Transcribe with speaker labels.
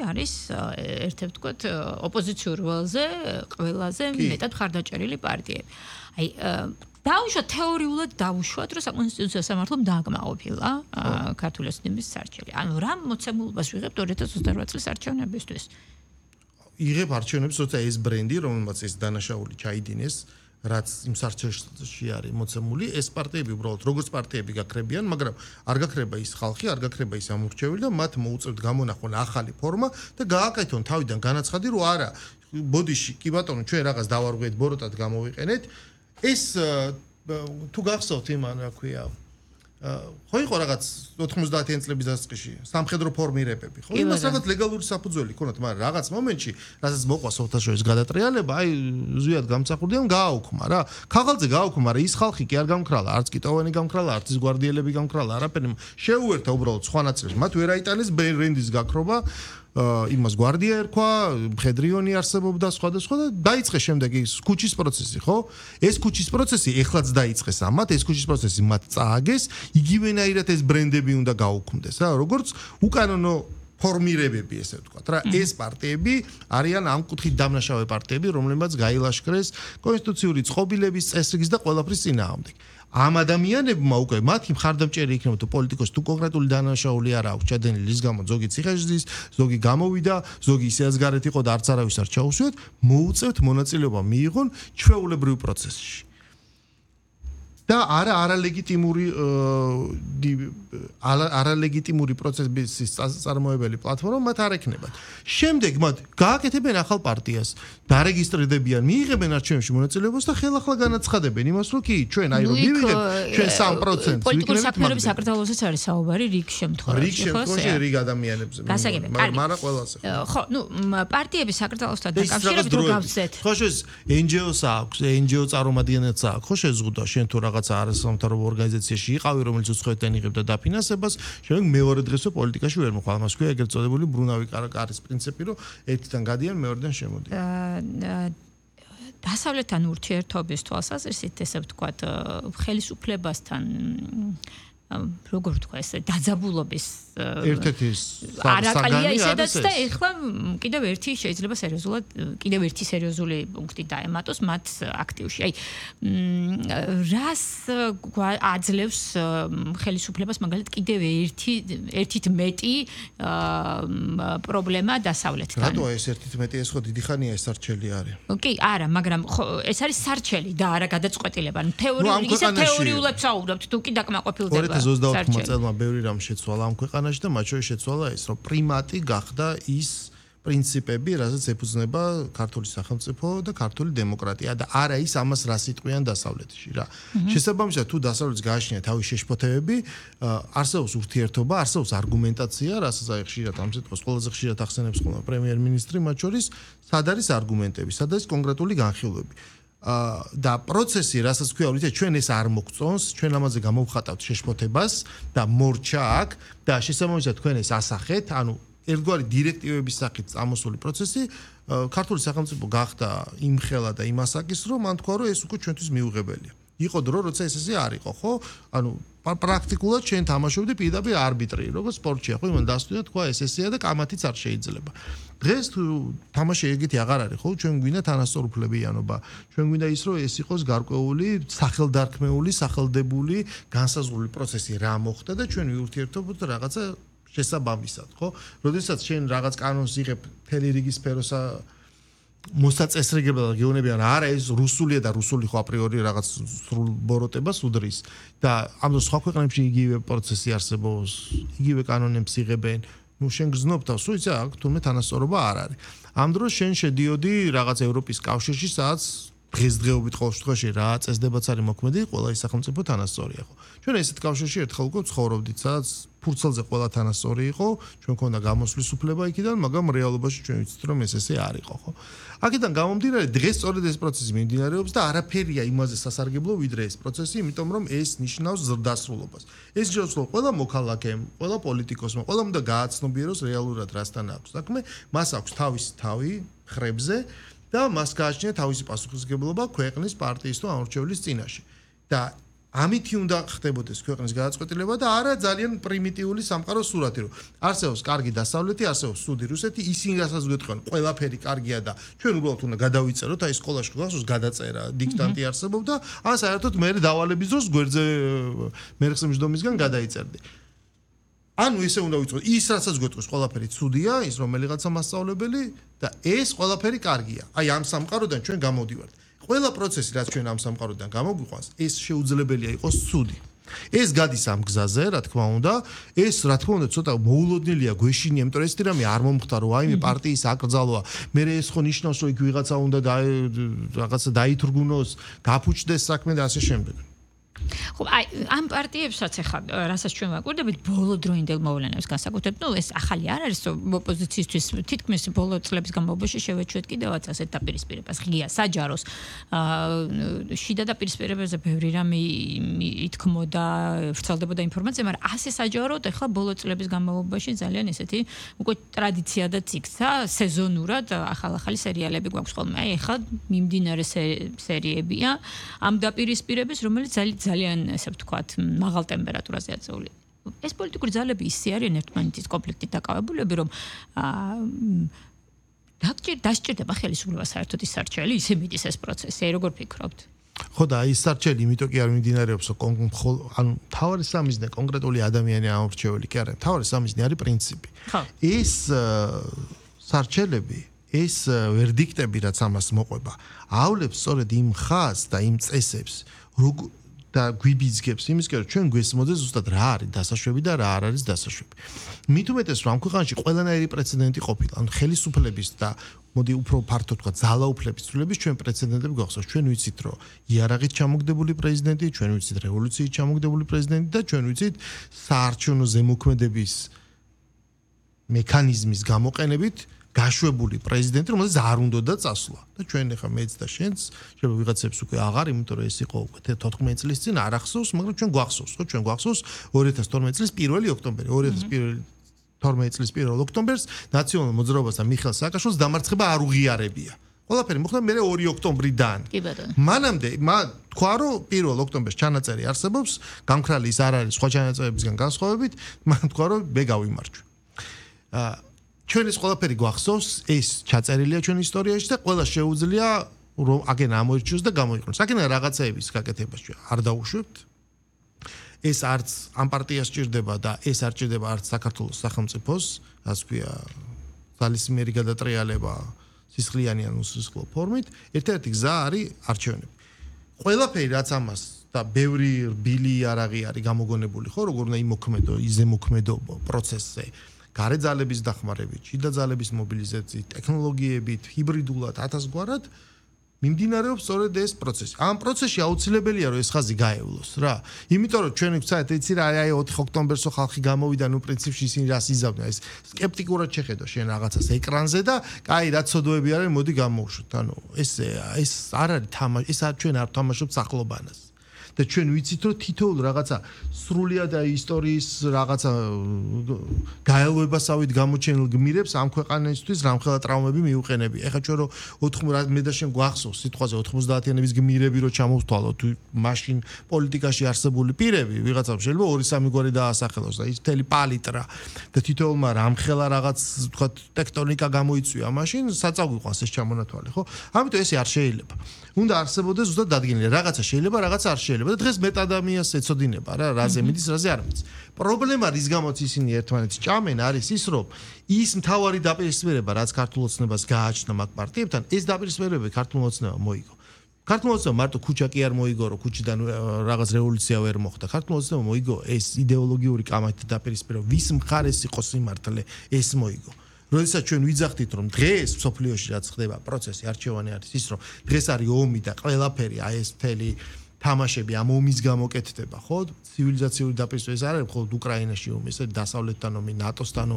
Speaker 1: არის ერთ-ერთი ვთქვათ ოპოზიციურ ველზე ყველაზე მეტად მხარდაჭერილი პარტიები. აი დაუშვათ თეორიულად დაუშვათ რომ საკონსტიტუციო სამართლომ დააკმაყოფილა ქართული ოცნების სარჩელი. ანუ რა მოცემულობას ვიღებთ 2028 წლის არჩევნებისთვის?
Speaker 2: იღებ არჩევნებს, როცა ეს ბრენდი, რომელმაც ეს დანაშაული ჩაიდინეს, რაც იმ სარჩელში არის მოცემული, ეს პარტიები უბრალოდ როგორც პარტიები გაქრებიან, მაგრამ არ გაქრება ის ხალხი, არ გაქრება ის ამორჩეველი და მათ მოუწევთ გამონახონ ახალი ფორმა და გააკეთონ თავიდან განაცხადი, რომ არა, ბოდიში, კი ბატონო, ჩვენ რაღაც დავარღვიეთ, ბოროტად გამოვიყენეთ. ეს თუ გახსოვთ იმან, რა ქვია, ხო იყო რაღაც 90-იან წლების დასაწყისში სამხედრო ფორმირებები, ხო? იმას რაღაც ლეგალური საფუძველი ქონათ, მაგრამ რაღაც მომენტში, რასაც მოყვა საერთაშორისო გადატრიალება, აი ზვიად გამსახურდიან, გააუქმა რა. ქაღალდზე გააუქმა, მაგრამ ის ხალხი კი არ გამქრალა, არც კი ტოვანი გამქრალა, არც ის გვარდიელები გამქრალა, არაფერი შეუერთა უბრალოდ სხვა ნაწილში. მათ ვერ აიტანეს ბრენდის გაქრობა. იმას გვარდია ერქვა, მხედრიონი არსებობდა სხვადასხვა და დაიწყეს შემდეგ ის ქუჩის პროცესი, ხო? ეს ქუჩის პროცესი ეხლაც დაიწყეს ამათ, ეს ქუჩის პროცესი მათ წააგეს, იგივენაირად ეს ბრენდები უნდა გაუქმდეს, რა, როგორც უკანონო ფორმირებები, ესე ვთქვათ, რა, ეს პარტიები არიან ამ კუთხით დამნაშავე პარტიები, რომლებმაც გაილაშქრეს კონსტიტუციური წყობილების წესრიგის და ყველაფრის წინააღმდეგ. ამ ადამიანებმა უკვე მათი მხარდამჭერი იქნება თუ პოლიტიკოსი თუ კონკრეტული დანაშაული არ აქვს ჩადენილი ის გამო ზოგი ციხეში ზოგი გამოვიდა ზოგი ისეაც გარეთ იყო და არც არავის არ ჩაუსვიათ მოუწევთ მონაწილეობა მიიღონ ჩვეულებრივ პროცესში და არალეგიტიმური პროცესის წარმოებელი პლატფორმა მათ არ ექნებათ. შემდეგ მათ გააკეთებენ ახალ პარტიას, დარეგისტრირდებიან, მიიღებენ არჩევნებში მონაწილეობას და ხელახლა განაცხადებენ იმას, რომ კი, ჩვენ აი რომ მივიღეთ, ჩვენ 3%
Speaker 1: პოლიტიკური საქმიანობის საკრძალვასაც არის საუბარი რიგ შემთხვევაში.
Speaker 2: რიგ შემთხვევაში რიგ ადამიანებზე. მაგრამ ყველაზე.
Speaker 1: ხო, ნუ პარტიების საკრძალოსთან დაკავშირებით რო გავცეთ.
Speaker 2: ხო, ეს NGO-ს აქვს, NGO წარმომადგენელს აქვს, ხო შეზღუდა შენ თუ რაღაცა არასამთავრობო ორგანიზაციაში იყავი, რომელიც უცხოეთიდან იღებდა დაფინანსებას, შემდეგ მეორე დღესო პოლიტიკაში ვერ მოხვალ. მას ქვია ეგრეთ წოდებული ბრუნავი კარის პრინციპი, რომ ერთიდან გადიან, მეორედან შემოდიან.
Speaker 1: დასავლეთთან ურთიერთობის თვალსაზრისით, ესე ვთქვათ, ხელისუფლებასთან როგორ ვთქვა ეს დაძაბულობის
Speaker 2: ერთ-ერთი
Speaker 1: არაკალია ისედაც და ეხლა კიდევ ერთი შეიძლება სერიოზულად კიდევ ერთი სერიოზული პუნქტი დაემატოს მათ აქტივში. აი რას აძლევს ხელისუფლებას მაგალითად კიდევ ერთით მეტი პრობლემა დასავლეთთან.
Speaker 2: რატოა ეს ერთით მეტი ეს ხო დიდი ხანია ეს სარჩელი არის.
Speaker 1: კი, არა, მაგრამ ეს არის სარჩელი და არა გადაწყვეტილება. თეორიულად საუბრობთ, თუ კი დაკმაყოფილდება.
Speaker 2: 2024 წელმა ბევრი რამ შეცვალა ამ ქვეყანაში და მათ შორის შეცვალა ეს, რომ პრიმატი გახდა ის პრინციპები, რასაც ეფუძნება ქართული სახელმწიფო და ქართული დემოკრატია და არა ის ამას რას იტყვიან დასავლეთში რა. შესაბამისად, თუ დასავლეთს გააჩნია თავის შეშფოთებები, არსებობს ურთიერთობა, არსებობს არგუმენტაცია, რასაც აი ხშირად ამ სიტყვას ყველაზე ხშირად ახსენებს ხოლმე პრემიერ-მინისტრი, მათ შორის სად არის არგუმენტები, სად არის კონკრეტული განხილვები. და პროცესი, რასაც ქვია, რომ ჩვენ ეს არ მოგწონს, ჩვენ ამაზე გამოვხატავთ შეშფოთებას და მორჩა აქ და შესაბამისად თქვენ ეს ასახეთ, ანუ ერთგვარი დირექტივების სახით წამოსული პროცესი, ქართული სახელმწიფო გახდა იმხელა და იმასაკის, რომ მან თქვა, რომ ეს უკვე ჩვენთვის მიუღებელია. იყო დრო, როცა ეს ესე არ იყო, ხო? ანუ პრაქტიკულად ჩვენ თამაშობდი პირდაპირ არბიტრი, როგორც სპორტშია, ხო? იმან დასტვია თქვა ეს ესეა და კამათიც არ შეიძლება. დღეს თუ თამაში ეგეთი აღარ არის, ხო? ჩვენ გვინდა თანასწორუფლებიანობა. ჩვენ გვინდა ის, რომ ეს იყოს გარკვეული სახელდარქმეული, სახელდებული, განსაზღვრული პროცესი რა მოხდა და ჩვენ ვიურთიერთობთ რაღაცა შესაბამისად, ხო? როდესაც შენ რაღაც კანონს იღებ მთელი რიგი სფეროსა მოსაწესრიგებდა და გეუბნებიან არა ეს რუსულია და რუსული ხო აპრიორი რაღაც სრულ ბოროტებას უდრის და ამ სხვა ქვეყნებში იგივე პროცესი არსებობს, იგივე კანონებს იღებენ. ნუ შენ გზნობ თავს, რომ იცი აქ თურმე თანასწორობა არ არის. ამ დროს შენ შედიოდი რაღაც ევროპის კავშირში, სადაც დღესდღეობით ყოველ შემთხვევაში რა წესდებაც არის მოქმედი, ყველა ის სახელმწიფო თანასწორია ხო. ჩვენ ესეთ კავშირში ერთხელ უკვე ცხოვრობდით, სადაც ფურცელზე ყველა თანასწორი იყო, ჩვენ ქონდა გამოსვლის უფლება იქიდან, მაგრამ რეალობაში ჩვენ ვიცით რომ ეს ესე არ იყო, ხო. აქედან გამომდინარე, დღეს სწორედ ეს პროცესი მიმდინარეობს და არაფერია იმაზე სასარგებლო ვიდრე ეს პროცესი, იმიტომ რომ ეს ნიშნავს ზრდასრულობას. ეს ნიშნავს, რომ ყველა მოქალაქემ, ყველა პოლიტიკოსმა, ყველამ უნდა გააცნობიეროს რეალურად რასთან აქვს საქმე, მას აქვს თავისი თავი ხრებზე და მას გააჩნია თავისი პასუხისმგებლობა ქვეყნის პარტიის თუ ამორჩევლის წინაშე. და ამითი უნდა ხდებოდეს ქვეყნის გადაწყვეტილება და არა ძალიან პრიმიტიული სამყაროს სურათი, რომ არსებობს კარგი დასავლეთი, არსებობს სუდი რუსეთი, ისინი რასაც გვეტყვიან, ყველაფერი კარგია და ჩვენ უბრალოდ უნდა გადავიწეროთ, აი სკოლაში გახსოვს გადაწერა, დიქტანტი არსებობდა, ან საერთოდ მე დავალების დროს გვერდზე მერხსიმჯდომისგან გადაიწერდი. ანუ ესე უნდა ვიცოდეთ, ის რასაც გვეტყვის ყველაფერი ცუდია, ის რომელიღაცა მასწავლებელი და ეს ყველაფერი კარგია. აი ამ სამყაროდან ჩვენ გამოვდივართ. ყველა პროცესი რაც ჩვენ ამ სამყაროდან გამოგვიყვანს, ეს შეუძლებელია იყოს ცუდი. ეს გადის ამ გზაზე, რა თქმა უნდა, ეს რა თქმა უნდა ცოტა მოულოდნელია გვეშინია, იმიტომ რომ ეს რამე არ მომხდარ, რომ აიმე პარტიის აკრძალვა, მე ეს ხო ნიშნავს, რომ იქ ვიღაცა უნდა რაღაცა დაითრგუნოს, გაფუჭდეს საქმე და ასე შემდეგ.
Speaker 1: ხო, აი ამ პარტიებსაც ახლა რასაც ჩვენ ვაკვირდებით ბოლო დროინდელ მოვლენებს განსაკუთრებით, ნუ ეს ახალი არ არის, რომ ოპოზიციისთვის თითქმის ბოლო წლების განმავლობაში შევეჩვეთ კიდევაც ასეთ დაპირისპირებას ღია საჯაროს შიდა დაპირისპირებაზე ბევრი რამე ითქმოდა, ვრცელდებოდა ინფორმაცია, მაგრამ ასე საჯაროდ ახლა ბოლო წლების განმავლობაში ძალიან ესეთი უკვე ტრადიცია და ციკცა სეზონურად ახალ-ახალი სერიალები გვაქვს ხოლმე. აი ახლა მიმდინარე სერიებია ამ დაპირისპირების, რომელიც ძალიან ესე ვთქვათ, მაღალ ტემპერატურაზე აწეული. ეს პოლიტიკური ძალები ისე არიან ერთმანეთის კონფლიქტით დაკავებულები, რომ დასჭირდება ხელისუფლება საერთოდ ის სარჩელი, ისე მიდის ეს პროცესი, როგორ ფიქრობთ?
Speaker 2: ხო და ის სარჩელი იმიტომ კი არ მიმდინარეობს, ანუ თავარი სამიზნე კონკრეტული ადამიანი ამორჩეული კი არა, თავარი სამიზნე არის პრინციპი. ეს სარჩელები ეს ვერდიქტები რაც ამას მოყვება, ავლებს სწორედ იმ ხაზს და იმ წესებს, და გვიბიძგებს იმისკენ რომ ჩვენ გვესმოდეს ზუსტად რა არის დასაშვები და რა არ არის დასაშვები. მით უმეტეს რომ ამ ქვეყანაში ყველანაირი პრეცედენტი ყოფილა, ანუ ხელისუფლების და მოდი უფრო ფართოდ ვთქვა, ძალაუფლების ცვლილების ჩვენ პრეცედენტები გვახსოვს. ჩვენ ვიცით რომ იარაღით ჩამოგდებული პრეზიდენტი, ჩვენ ვიცით რევოლუციით ჩამოგდებული პრეზიდენტი და ჩვენ ვიცით საარჩევნო ზემოქმედების მექანიზმის გამოყენებით გაშვებული პრეზიდენტი, რომელსაც არ უნდოდა წასვლა. და ჩვენ ახლა მეც და შენც შეიძლება ვიღაცებს უკვე აღარ, იმიტომ რომ ეს იყო უკვე 14 წლის წინ არ ახსოვს, მაგრამ ჩვენ გვახსოვს, ხო? ჩვენ გვახსოვს 2012 წლის 1 ოქტომბერი, 2012 წლის 1 ოქტომბერს ნაციონალურ მოძრაობასთან მიხეილ სააკაშვილის დამარცხება არ უღიარებია. ყველაფერი მოხდა მე 2 ოქტომბრიდან.
Speaker 1: კი ბატონო.
Speaker 2: მანამდე თქვა რომ 1 ოქტომბერს ჩანაწერი არსებობს, გამქრალი ის არ არის სხვა ჩანაწერებისგან განსხვავებით, მან თქვა რომ მე გავიმარჯვე. ჩვენ ეს ყველაფერი გვახსოვს, ეს ჩაწერილია ჩვენ ისტორიაში და ყველა შეუძლია რომ აგენ ამოირჩიოს და გამოიყენოს. აგენ რაღაცეების გაკეთებას ჩვენ არ დავუშვებთ. ეს არც ამ პარტიას ჭირდება და ეს არ ჭირდება არც საქართველოს სახელმწიფოს, ასე ვქვია, ძალისმიერი გადატრიალება სისხლიანი ან უსისხლო ფორმით. ერთ-ერთი გზა არის არჩევნები. ყველაფერი რაც ამას და ბევრი რბილი იარაღი არის გამოგონებული, ხო, როგორ უნდა იმოქმედო, იზემოქმედო პროცესზე. გარე ძალების დახმარებით, შიდა ძალების მობილიზაციით, ტექნოლოგიებით, ჰიბრიდულად, ათასგვარად მიმდინარეობს სწორედ ეს პროცესი. ამ პროცესში აუცილებელია რომ ეს ხაზი გაევლოს რა. იმიტომ რომ ჩვენ ვცადეთ იცი რა აი 4 ოქტომბერსო ხალხი გამოვიდა, ნუ პრინციპში ისინი რას იზავდნენ, ეს სკეპტიკურად შეხედო შენ რაღაცას ეკრანზე და კაი რა ცოდოები არის, მოდი გამოვშვით. ანუ ეს არ არის თამაში, ეს ჩვენ არ თამაშობთ სახლობანას. და ჩვენ ვიცით რომ თითოეულ რაღაცა სრულიად ისტორიის რაღაცა გაელვებასავით გამოჩენილ გმირებს ამ ქვეყანისთვის რამხელა ტრავმები მიუყენები. ეხლა ჩვენ რომ მე და შენ გვახსოვს სიტყვაზე 90-იანების გმირები რომ ჩამოვთვალოთ, მაშინ პოლიტიკაში არსებული პირები, ვიღაცამ შეიძლება 2-3 გვარი დაასახელოს და ის მთელი პალიტრა და თითოეულმა რამხელა რაღაც თქვა ტექტონიკა გამოიწვია, მაშინ საწავიყვანს ეს ჩამონათვალი, ხო? ამიტომ ესე არ შეიძლება. უნდა არსებობდეს ზუსტად დადგენილი, რაღაცა შეიძლება, რაღაცა არ შეიძლება. და დღეს მეტ ადამიანს ეცოდინება რა, რაზე მიდის, რაზე არ მიდის. პრობლემა რის გამოც ისინი ერთმანეთს ჭამენ არის ის, რომ ის მთავარი დაპირისპირება, რაც ქართულ ოცნებას გააჩნდა მაგ პარტიებთან, ეს დაპირისპირება ქართულ ოცნებამ მოიგო. ქართულ ოცნებამ მარტო ქუჩა კი არ მოიგო, რომ ქუჩიდან რაღაც რევოლუცია ვერ მოხდა. ქართულ ოცნებამ მოიგო ეს იდეოლოგიური კამათით დაპირისპირება, ვის მხარეს იყო სიმართლე, ეს მოიგო. როდესაც ჩვენ ვიძახდით რომ დღეს სოფლიოში რაც ხდება პროცესი არჩევანი არის ის რომ დღეს არის ომი და ყველაფერი აი ეს მთელი თამაშები ამ ომის გამოკეთდება ხო ცივილიზაციური დაპირისპირება ეს არ არის მხოლოდ უკრაინაში ომი ეს დასავლეთთან ომი ნატოსთან